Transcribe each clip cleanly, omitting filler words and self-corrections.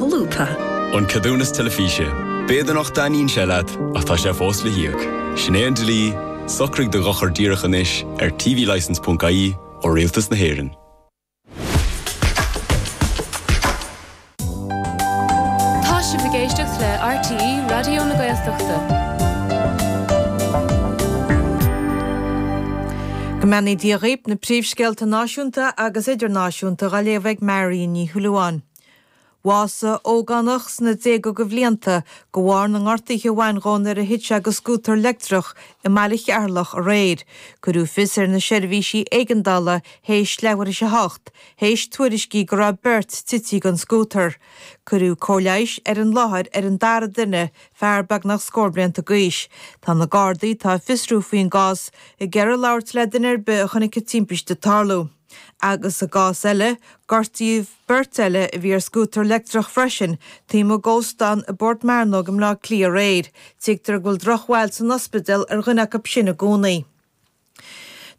Solúbtha. An ceadúnas teilifíse. B'fhéidir nach dtaitníonn sé leat, ach tá sé fós le híoc. Sin é an dlí, socraigh do dhochar díreach anois ar tvlicence.ie ó Rialtas na hÉireann. Tá sibh ag éisteacht le RTÉ Raidió na Gaeltachta. Go mbeannaí Dia dhaoib, na príomhscéalta náisiúnta agus idirnáisiúnta dhá léamh ag Marion Ní Shúilleabháin. Bhásaigh ógánach sna déaga de bhlianta de bharr na ngortuithe a bhain dhó nuair a thit sé de scútar leictreach i mbaile Cheatharlach aréir. Cuireadh fios ar na seirbhísí éigeandála théis leathuair théis a hocht, théis tuairiscí go raibh beirt tite den scútar. Cuireadh cóir leighis ar an láthair ar an dara duine, fear beagnach scór blianta d'aois. Tá na Gardaí, atá ag fiosrú faoin gcás, ag iarraidh labhairt le duine ar bith a chonaic an timpiste ag tarlú. Agus i gcás eile, gortaíodh beirt eile a bhí ar scútar leictreach freisin, taobh amuigh d'óstán i bPort Mearnóg i mBleá Cliath aréir. Tuigtear go bhfuil drochbhail san ospidéal ar dhuine acu sin i gcónaí.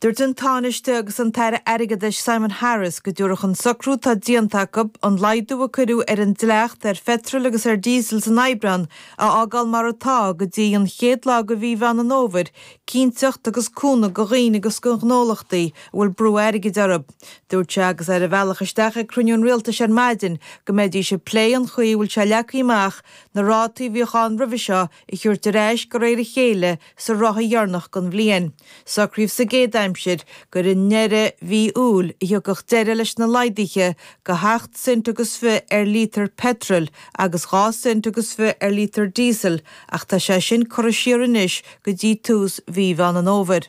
Dúirt an Tánaiste agus an tAire Airgeadais Simon Harris go dtabharfadh an socrú atá déanta acu an laghdú a cuireadh ar an dleacht ar pheitreal agus ar dhíosal san Aibreán a fhágáil mar atá go dtí an chéad lá de mhí Mheán an Fhómhair cinnteacht agus cúnamh do dhaoine agus do ghnólachtaí a bhfuil brú airgid orthu. Dúirt sé agus é ar a bhealach isteach ag cruinniú an Rialtais ar maidin go mbeidís ag plé an chaoi a bhfuil sé leagtha amach na rátaí a bhíodh ann roimhe seo a thabhairt ar ais de réir a chéile sa ráithe dheireanach den bhliain. Socraíodh sa gcéad aimsir gur i ndeireadh mhí Iúil a thiocfadh deireadh leis na laghduithe de sheacht cent agus fiche ar líotar peitril agus 2 cent agus fiche ar líotar díosail ach tá sé sin curtha siar anois go dtí tús mhí Mheán an Fhómhair.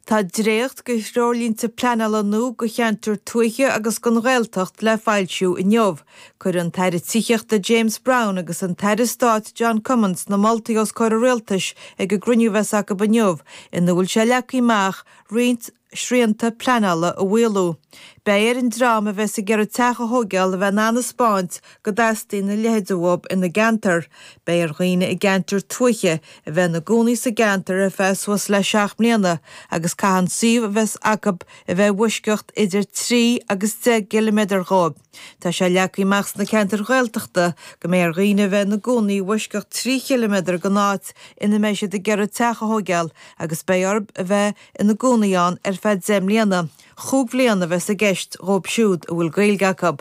Tá dréacht de threoirlínte pleanála nua do cheantair tuaithe agus don Ghaeltacht le foilsiú inniu. Cuirfidh an tAire Tithíochta James Browne agus an tAire Stáit John Cummins na moltaí os comhair an Rialtais ag an gcruinniú a bheas acu inniu ina bhfuil sé leagtha amach roinnt srianta pleanála a mhaolú. Beidh ar an dream a bheas ag iarraidh teach a thóigeáil a bheith in ann a 'spáint go dteastaíonn a leithéid uathu ina gceantar. Beidh ar dhaoine i gceantar tuaithe a bheith ina gcónaí sa gceantar ar feadh suas le 7 mbliana agus caithfidh an suíomh a bheas acu a bheith i bhfoisceacht idir 3 agus 10 gciliméadar dhóibh. Tá sé leagtha amach sna ceantair Ghaeltachta go mbeidh ar dhaoine a bheith ina gcónaí i bhfoisceacht 3 chiliméadar den áit ina mbeidh siad ag iarraidh teach a thóigeáil agus beidh orthu a bheith ina gcónaí ann ar feadh 10 mbliana, chúig bhliana a bheas i gceist dhóibh siúd a bhfuil Gaeilge acu.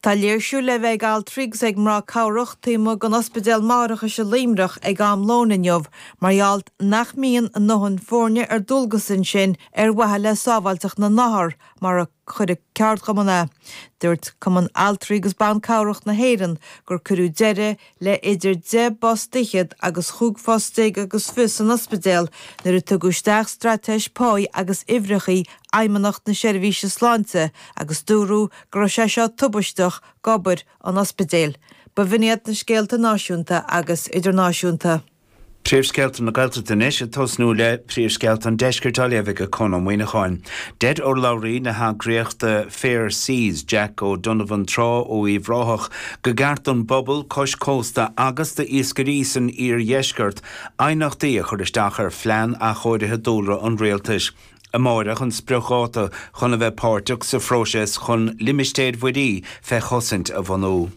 Tá léirsiú le bheith ag altraí agus ag mná cabhrach taobh amuigh den Ospidéal Máithreachais i Luimneach ag am lóin inniu mar gheall nach mbíonn a ndóthain foirne ar dualgas ansin ar mhaithe le sábháilteacht na n-othar mar a chuir an ceardchumann é. Dúirt Cumann Altraí agus Ban Cabhrach na hÉireann gur cuireadh deireadh le idir deich bpost fhichead agus chúig phost déag agus fiche san ospidéal nuair a tugadh isteach straitéis páí agus uimhreachaí Fheidhmeannacht na Seirbhíse Sláinte agus dúradh go raibh sé seo tubaisteach d'obair an ospidéil. B'in iad na scéalta náisiúnta agus idirnáisiúnta. Príomhscéalta na Gaeltachta anois, ag tosnú le príomhscéalta an Deiscirt á léamh ag Conn Ó Muíneacháin. Deir urlabhraí na heagraíochta Fair Seas, Jack O'Donovan Trá ó Uíbh Ráthach, go gceart don bpobal cois cósta agus d'iascairí san iardheisceart aighneachtaí a chur isteach ar phlean athchóirithe dúlra an rialtais. Amáireach an spriocdháta chun a bheith páirteach sa phróiseas chun limistéir mhuirí fé chosaint a bhunú.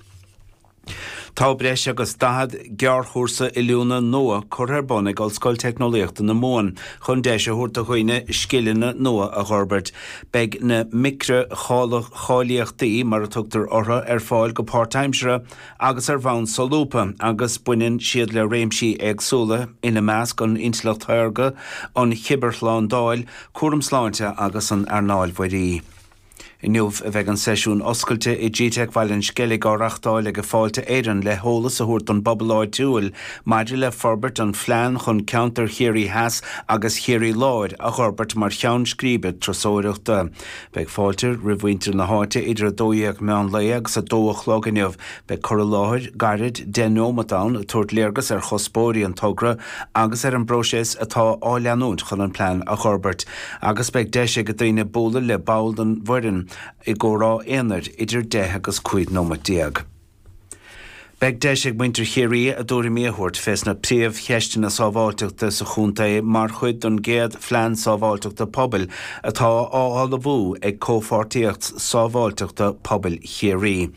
Tá breis agus 40 gearrchúrsa oiliúna nua curtha ar bun ag Ollscoil Teicneolaíochta na Mumhan chun deis a thabhairt do dhaoine scileanna nua a dh'fhorbairt. Beidh na micreacháilíochtaí, mar a tugtar orthu, ar fáil go páirtaimseartha agus ar bhonn solúbtha agus baineann siad le réimsí éagsúla, ina measc an intleacht shaorga, an chibearshlándáil, cúram sláinte agus an earnáil mhuirí. Inniu a bheidh an seisiún oscailte i gteic Bhaile an Sceilg á reachtáil ag Fáilte Éireann le heolas a thabhairt don bpobal áitiúil maidir le forbairt an phlean chun ceantar Chiarraí Theas agus Chiarraí Láir a dh'fhorbairt mar cheann scríbe turasóireachta. Beidh fáilte roimh mhuintir na háite idir 12 meán lae agus 2 a chlog inniu. Beidh cur i láthair gairid 10 neomat ann ag tabhairt léargas ar chuspóirí an togra agus ar an bpróiseas atá á leanúint chun an plean a dh'fhorbairt agus beidh deis ag daoine bualadh le ball den bhfoireann i gcomhrá aonair idir 10 agus 15 nóimeat. Beidh deis ag muintir Chiarraí a dtuairimí a thabhairt fés na príomhcheisteanna sábháilteachta sa chontae mar chuid den gcéad Phlean Sábháilteachta Pobail atá á ullmhú ag Comhpháirtíocht Sábháilteachta Pobail Chiarraí.